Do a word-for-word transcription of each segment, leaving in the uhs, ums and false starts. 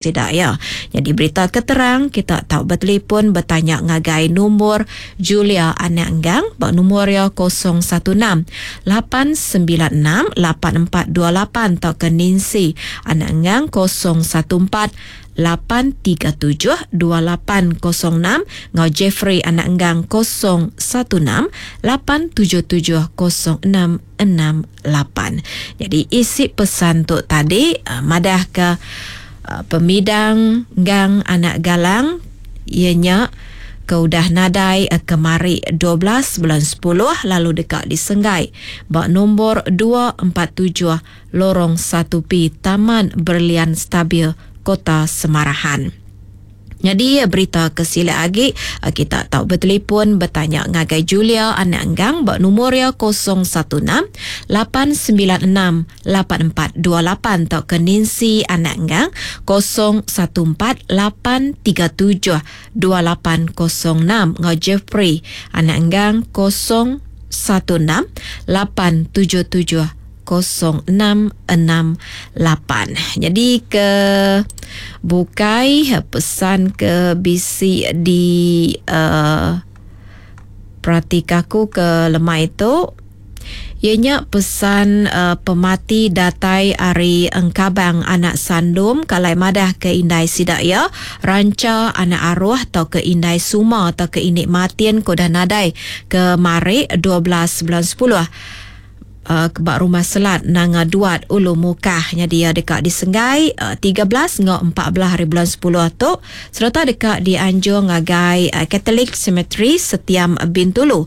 Sida iya. Nyadi berita ke terang kita tau betelefon betanya ngagai nombor Julia Anak Enggang ba nombor iya kosong satu enam lapan sembilan enam lapan empat dua lapan tauka Nancy Anak Enggang kosong satu empat lapan tiga tujuh dua lapan kosong enam ngau Jeffrey Anak Enggang kosong satu enam lapan tujuh tujuh kosong enam enam lapan. Jadi isi pesan tu tadi, uh, madah ke Uh, pemidang Gang Anak Galang ianya ke udah nadai, uh, kemari dua belas bulan sepuluh lalu dekat disenggai ba nombor dua empat tujuh Lorong satu P Taman Berlian Stabil Kota Semarahan. Jadi berita kesila agi kita tahu bertelefon bertanya ngagai Julia Anak Enggang ba nombor ya kosong satu enam lapan sembilan enam lapan empat dua lapan atau ke Nancy Anak Enggang kosong satu empat lapan tiga tujuh dua lapan kosong enam ngau Jeffrey Anak Enggang kosong satu enam lapan tujuh tujuh kosong enam enam lapan. Jadi ke bukai pesan ke bisi di, uh, perhatikaku ke lemai itu ianya pesan, uh, pemati datai ari Engkabang Anak Sandum kalai madah ke indai sidak ya ranca anak arwah atau ke indai suma atau ke inik matin ko dah nadai ke mari dua belas bulan sepuluh. Uh, ke bak rumah selat Nanga Duat Ulu Mukah. Jadi dia dekat di Senggai, uh, tiga belas ngau empat belas hari bulan sepuluh tu serta dekat di Anjung ngagai, uh, Catholic Cemetery Setiam Bintulu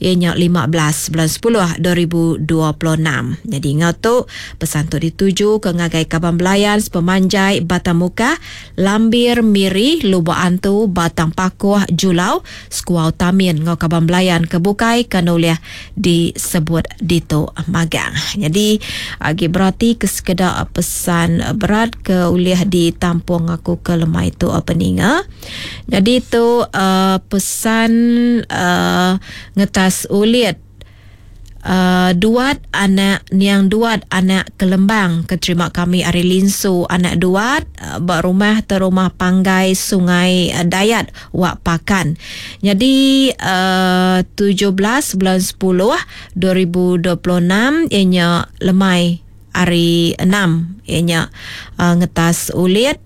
ianya lima belas bulan sepuluh dua ribu dua puluh enam. Jadi ngau tu pesan tu dituju ke ngagai Kaban Belayan sepemanjai Batang Mukah, Lambir Miri, Lubok Antu, Batang Pakuh, Julau, Sekuau Tamin ngau Kaban Belayan ke bukai kanuliah disebut dito magang. Jadi agi berarti ke sekeda pesan berat ke uliah ditampung aku ke lemai tu apa ninga. Jadi tu, uh, pesan, uh, ngetas ulit, uh, duat anak niang duat anak kelembang keterima kami ari linsu anak duat, uh, ba rumah terumah panggai Sungai, uh, Dayat Wak Pakan. Jadi, uh, tujuh belas bulan sepuluh dua ribu dua puluh enam ianya lemai hari enam ianya, uh, ngetas ulit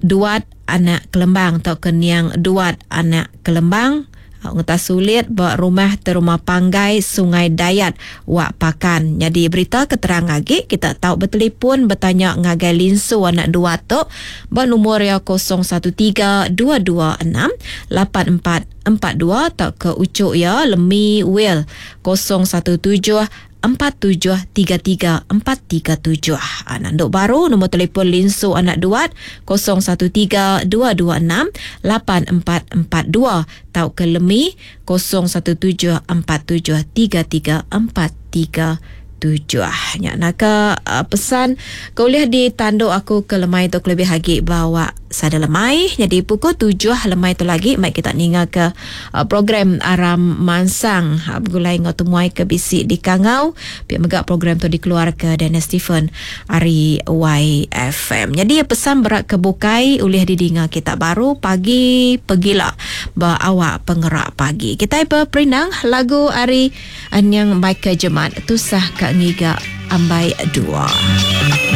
duat anak kelembang atau keniang duat anak kelembang ngetas sulit ba rumah terumah panggai Sungai Dayat Wak Pakan. Jadi berita keterang lagi kita tahu bertelefon bertanya ngagai linsu anak dua tu ba nombor ya kosong satu tiga dua dua enam lapan empat empat dua atau ke ucuk ya Lemi Will kosong satu tujuh empat tujuh tiga tiga empat tiga tujuh. Ha, nanduk baru nombor telefon linsu anak duat kosong satu tiga dua dua enam lapan empat empat dua tau ke Lemi kosong satu tujuh empat tujuh tiga tiga empat tiga tujuh. Nyak naka, uh, pesan kuliah di tanduk aku ke lemai tu lebih lagi bawa sada lemai. Jadi pukul tujuh lemai tu lagi mai kita ninga ke, uh, program Aram Mansang. Ha, bergulai ngau temuai ke bisi di Kangau. Pihak megak program tu dikeluar ke Daniel Stephen ari Y F M. Jadi pesan berat ke bukai ulih didinga kita baru pagi pegila ba awak pengerak pagi. Kita berperindang lagu ari anyang Michael Jemat tusah ka ngiga ambai dua.